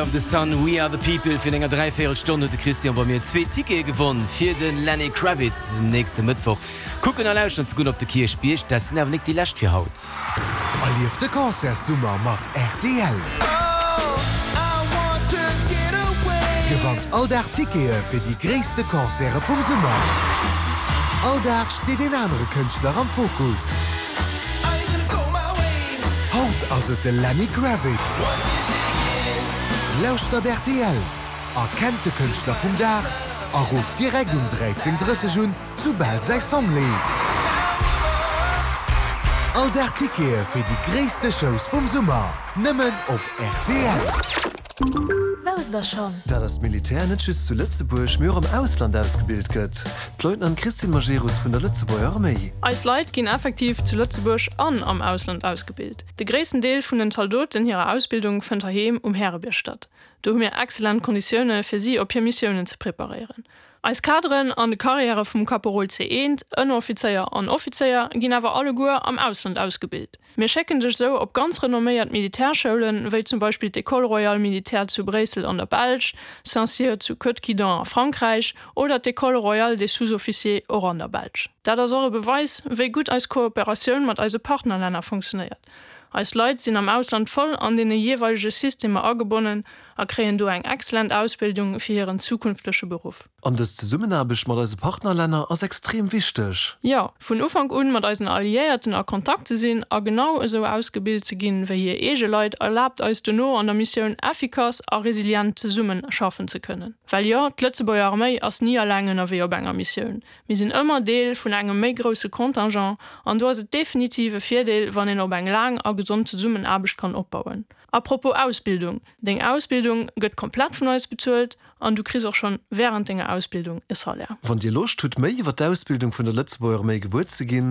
Of the Sun, We Are The People. Virun enger dräivéierel Stonn huet de Christian bei mir zwee Tickete gewonn fir de Lenny Kravitz nächste Mëttwoch kucken a lauschteren ze goen op de Kierchbierg. Dat sinn awer nik déi lescht fir haut. Erlieft de Concertssummer mat rtl! Gewannt all Dag Tickete fir déi gréisste Concerte vum Summer. All Dag steet een anere Kënschtler am Fokus. Haut ass et de Lenny Kravitz. Lauschtert rtl, erkennt de Kënschtler vum Dag a rufft direkt um 13:30 un, soubal säi Song leeft. All Dag Tickete fir déi gréisste Shows vum Summer, nëmmen op rtl. Wousst der schonn? Dat eist Militär net just zu Lëtzebuerg, mee och am Ausland ausgebilt gëtt. D'Leutnant Christine Majerus vun der Lëtzebuerger Arméi. Eis Leit ginn effektiv zu Lëtzebuerg an am Ausland ausgebilt. De gréissten Deel vun den Zaldoten hirer Ausbildung fënnt heiheem um Härebierg statt. Do hu mir excellent Konditioune fir si op hir Missiounen ze preparéieren. Eis Kaderen an de Karriäre vum Kaporol C1, Ënneroffizéier an Offizéier ginn awer alleguer am Ausland ausgebilt. Mir schécken dech esou op ganz renomméiert Militärschoulen, wéi zum Beispill d'École Royale Militaire zu Bréissel an der Belsch, Saint-Cyr zu Coëtquidan a Frankräich oder d'École Royale des Sous-Officiers och an der Belsch. Dat ass och e Beweis, wéi gutt eis Kooperatioun mat eise Partnerlänner funktionéiert. Eis Leit sinn am Ausland voll an deene jeeweilege Systemer agebonnen a kréien do eng excellent Ausbildung fir hiren zukünftege Beruff. An dës Zesummenaarbecht mat eise Partnerlänner ass extrem wichteg. Jo, vun Ufank un mat eisen Alliéierten a Kontakt ze sinn a genau esou ausgebilt ze ginn wéi hir eege Leit, erlaabt eis dono an der Missioun effikass a resilient zesummen schaffen ze kënnen. Well jo, d'Lëtzebuerger Arméi ass ni alleng ënnerwee op enger Missioun. Mir sinn ëmmer Deel vun engem méi grousse Contingent an do ass et definitiv e Virdeel, wann een op eng laang a gesond Zesummenaarbecht kann opbauen. A propos Ausbildung, Deng Ausbildung gëtt komplett vun eis bezuelt an du kriss och schonn wärend denger Ausbildung e Salaire. Wann Dir Loscht hutt méi iwwer d'Ausbildung vun der Lëtzebuerger Arméi gewuer ze ginn.